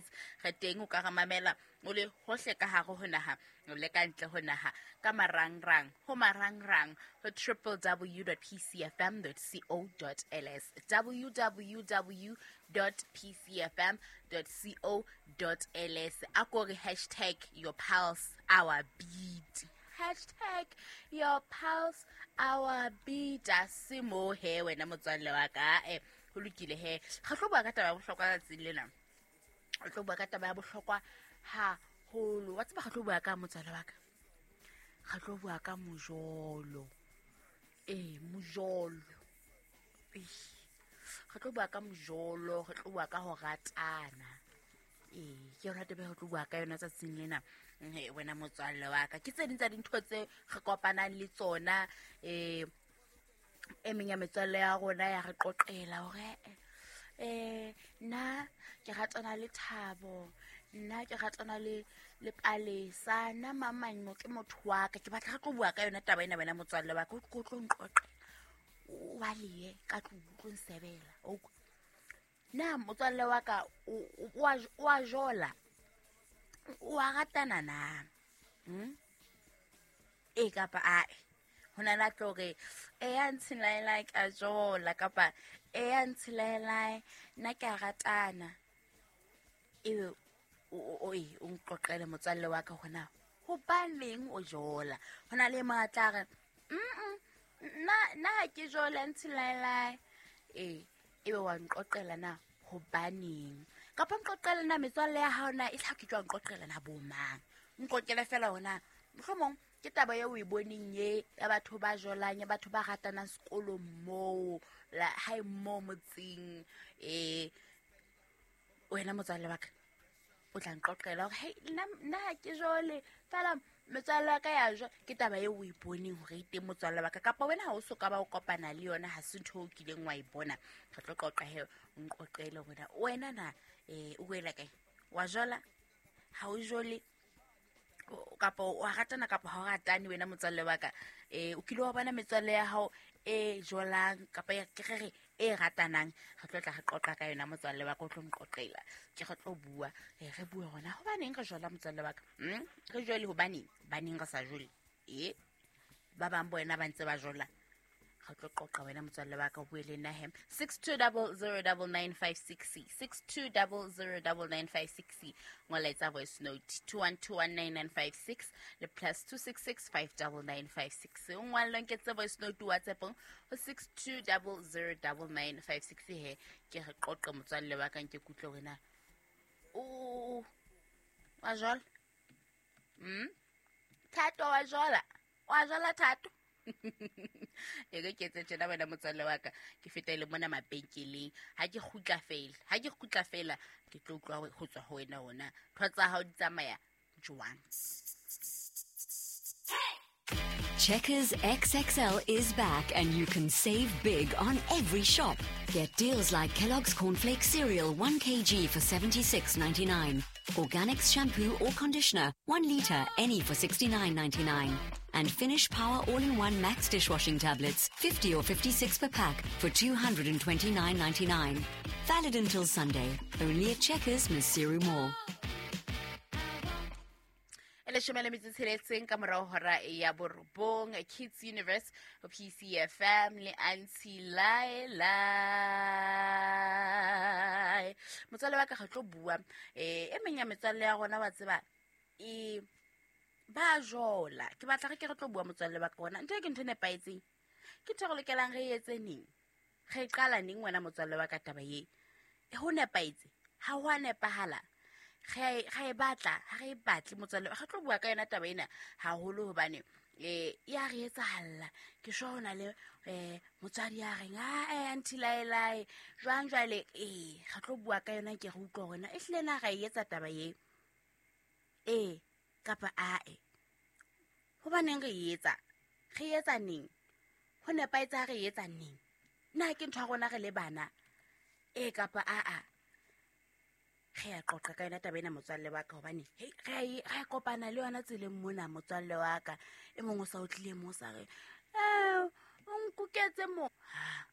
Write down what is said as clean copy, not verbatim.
Megahertz re teng, o ka re mamela o le hohle ka hare ho naha le ka ntle ho naha ka marangrang, ho marangrang ho www.pcfm.co.ls, www.pcfm.co.ls. A ko re hashtag your pulse our beat, hashtag your pulse our beat. A se mo he wena motswalle wa ka. Ho lokile he, re tlo bua ka taba ya bohlokwa tsatsing lena, re tlo bua ka taba ya bohlokwa haholo. Wa tseba, re tlo bua ka motswalle wa ka, re tlo bua ka mojolo. Ee, mojolo. Eish. Re tlo bua ka mojolo, re tlo bua ka ho ratana. Ee, ke yona taba e re tlo bua ka yona tsatsing lena. Wena motswalle wa ka, ke tse ding tsa dintho tse re kopanang le tsona. E meng ya metswalle ya rona ya re qoqela hore nna ke ratana le Thabo, nna ke ratana le Palesa, nna mamang ke motho wa ka. Ke batla re tlo bua ka yona taba ena, wena motswalle wa ka, o tlo nqoqela, o balehe ka tlung, o tlo nsebela. O utlwa? Na motswalle wa ka o a jola, o a ratana na? E kapa ae? Ho na le a tlo re e ya ntshilaelae ke a jola, kapa e ya ntshilaelae nna ke a ratana. Ebe o nqoqele motswalle wa ka hona hobaneng o jola. Ho na le e mong a tla re nna ha ke jola ntshilaelae. Ee, ebe wa nqoqela na hobaneng, kapa nqoqela na metswalle ya hao na e tla ke jwang, nqoqela na bo mang, nqoqele fela hona mohlomong ke taba eo o e boneng ye ya batho ba jolang, ya batho ba ratanang sekolong moo, la hae moo motseng. Wena motswalle wa ka o tla nqoqela hore hei, nna ha ke jole fela metswalle wa ka ya jwa. Ke taba eo o e boneng hore e teng motswalle wa ka, kapa wena ha o so ka ba o kopana le yona, ha se ntho o kileng wa e bona. Re tlo qoqa he, o nqoqele hore wena na o wela kae, wa jola, ha o jole, kapa o a ratana kapa ha o ratane. Wena motswalle wa ka, o kile wa bona metswalle ya hao e jolang kapa ya ke re e ratanang? Re tlo tla re qoqa ka yona motswalle wa ka, o tlo nqoqela, ke re tlo bua, re bue hona hobaneng re jola motswalle wa ka. Re jole hobaneng, baneng re sa jole, ba bang bo wena ba ntse ba jola. Re tlo qoqa wena motswalle wa ka, o bue le nna he, 62009956, 62009956. Ngola, etsa voice note 21219956 le +266 59956. O ngwalle, nketse voice note WhatsAppong ho 62009956. He ke re qoqe motswalle wa ka, nke kutlwe wena o wa jola. Thato wa jola, wa jola Thato. E re ke etse tjena wena motswalle wa ka, ke fetele mona mabenkeleng, ha ke kgutla fela, ha ke kgutla fela ke tlo utlwa ho tswa ho wena ona ntho tsa hao di tsamaya jwang. Checkers XXL is back and you can save big on every shop. Get deals like Kellogg's Cornflakes cereal 1 kg for 76.99, Organics shampoo or conditioner 1 liter any for 69.99, and Finish Power All-in-One Max dishwashing tablets 50 or 56 per pack for 229.99. Valid until Sunday. Only at Checkers, Maseru Mall. E 17 ka morao hora ya 9, Kids Universe ho PCFM le Auntie Laila. Motswalle wa ka, re tlo bua. E meng ya metswalle ya rona, wa tseba, e ba jola. Ke batla re ke re tlo bua motswalle wa ka ona ntho e ke ntho e nepahetseng, ke ntho e re lokelang re etse neng, re qala neng wena motswalle wa ka taba ye? E ho nepahetse, ha ho a nepahala, re e batla, ha re e batle? Motswalle, re tlo bua ka yona taba ena haholo hobane ya re etsahalla. Ke sure ho na le motswadi ya reng a auntie Laelae jwang jwale. Ee, re tlo bua ka yona, ke re utlwa hore na e hlile na ra e etsa taba ye, ee kapa ae, hobaneng re e etsa, re etsa neng, ho nepahetse ha re e etsa neng, na ke ntho ya rona re le bana, ee kapa aa? Re ya qoqa ka yona taba ena motswalle wa ka, hobane hei, re a kopana le yona tseleng mona motswalle wa ka. E mongwe o sa o tlile mo o sa re o nkuketse mo ha.